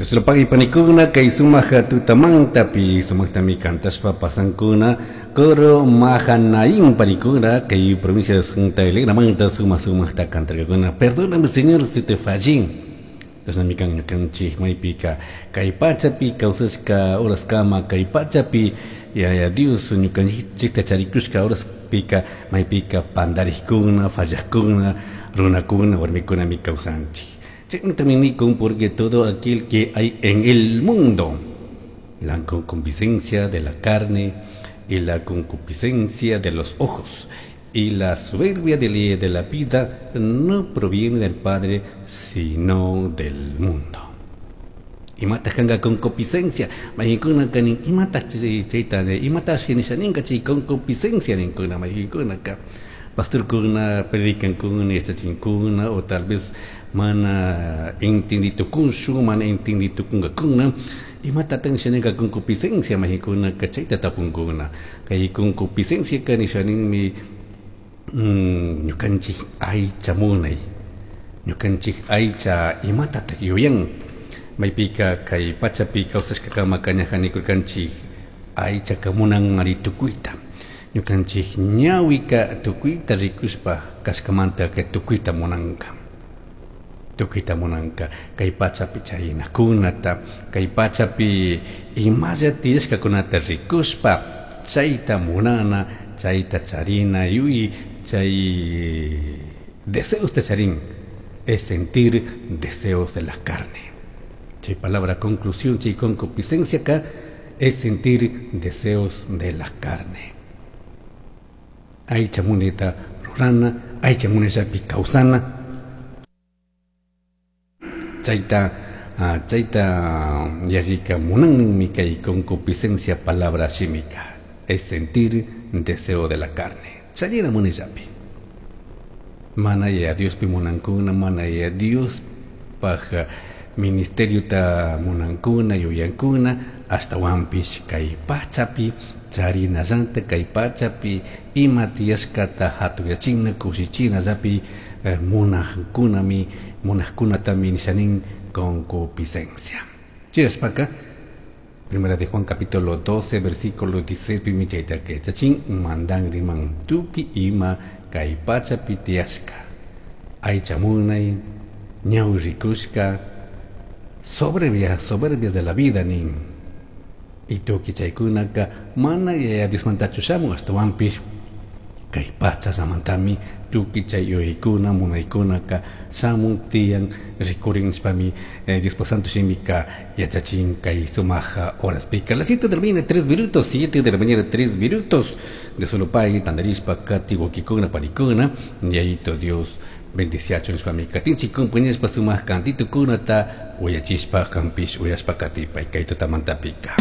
Dios lo pague panikuna kay sumaq tutamantapi sumaqtami kantashpa pasankuna coro Mahanaim panikuna kay provincia de Santa Elena manta sumaq sumaqta kantarkakuna. Perdóname, Señor, si te fallé. Chashnami kan ñukanchik maypika kay pachapi kawsashka horaskama, kay pachapi Yaya Dios ñukanchikta charikushka horaspika maypika pandarikuna, fallakuna, runakuna, warmikunami kawsanchik. Chaytami nikun, porque todo aquel que hay en el mundo, la concupiscencia de la carne y la concupiscencia de los ojos y la soberbia de la vida no proviene del Padre, sino del mundo. Imata kanga concupiscencia, maykuna kanin imata chayta imata shinishaninka chay concupiscencia ninkuna maykunaka. Pastorkuna predicankuna yachachinkuna o tal vez mana entenditukunshu, mana entenditukunkakuna imata tan shaninka concupiscencia maykunaka chayta tapunkuna. Kay concupiscencia kanishaninmi ñukanchik aycha munay, ñukanchik aycha imatataq yuyan, maypika kay pachapi kawsashkakama kañajanikurkanchik aychaka munan ari tukuyta, ñukanchik ñawika tukuyta rikushpa kashkamanta kay tukuyta munanka, tukuyta munanka kay pachapi chaynakunata, kay pachapi imalla tiyashkakunata rikushpa chayta munana, chayta charina yuy, chay deseos te charín, es sentir deseos de la carne. Chay palabra conclusión, chay concupiscencia acá, es sentir deseos de la carne. Aycha muneta rurana, aycha muneta picausana. Chayta, chayta yashika munanmi kay concupiscencia palabra shimika, es sentir deseo de la carne. Charina munellapi. Mana ya Dios pi munankuna, mana ya Dios paja ministerio ta munankuna, yuyankuna, hasta wampish kay pachapi, charina llanta kay pachapi, ima tiyashkata hatuyachina, kushichina llapi, munajkunami, munajkunatami nishanin concupiscencia. Chiraspaka, Primera de Juan capítulo 12, versículo 16, pimichaita que chachin, mandan riman tuki ima kay pachapi tiyashka. Aycha munay, ñawi rikushka, soberbia, soberbia de la vida nin. Y tuki chaykunaka mana yaya Diosmantachu shamun, ashtawanpish kay pacha samantami tuki chay yuyaykuna, munaykunaka shamun tiyan rikurin nishpami, Diospa Santo shimika yachachin kay sumaja horas pika. Las 7 de la mañana, 3 minutos, 7 de la mañana, 3 minutos de solo pay, tandarishpa, kati, wakikuna, parikuna, yayito Dios bendiciacho nishpami katinchi compañeros pa sumaj cantito kunata uyachishpa kampish uyashpa katipay kay tutamantapika.